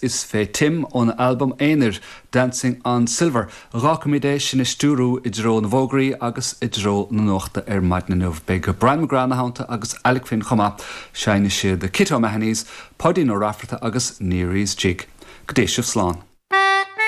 Is fé Tim óna albam aonair, Dancing on Silver. Dh'fhágfaimid é sinn a stiúrú i dtreo na bhfógraí agus i dtreo na nuachta ar maidin inniu. Beidh Brian McGrath ina theannta agus Alec Finn chomh maith. Seinnfidh siad Kit O'Mahony's, Páidín Ó Raifeartaigh agus Neary's Jig. Go dté sibh slán.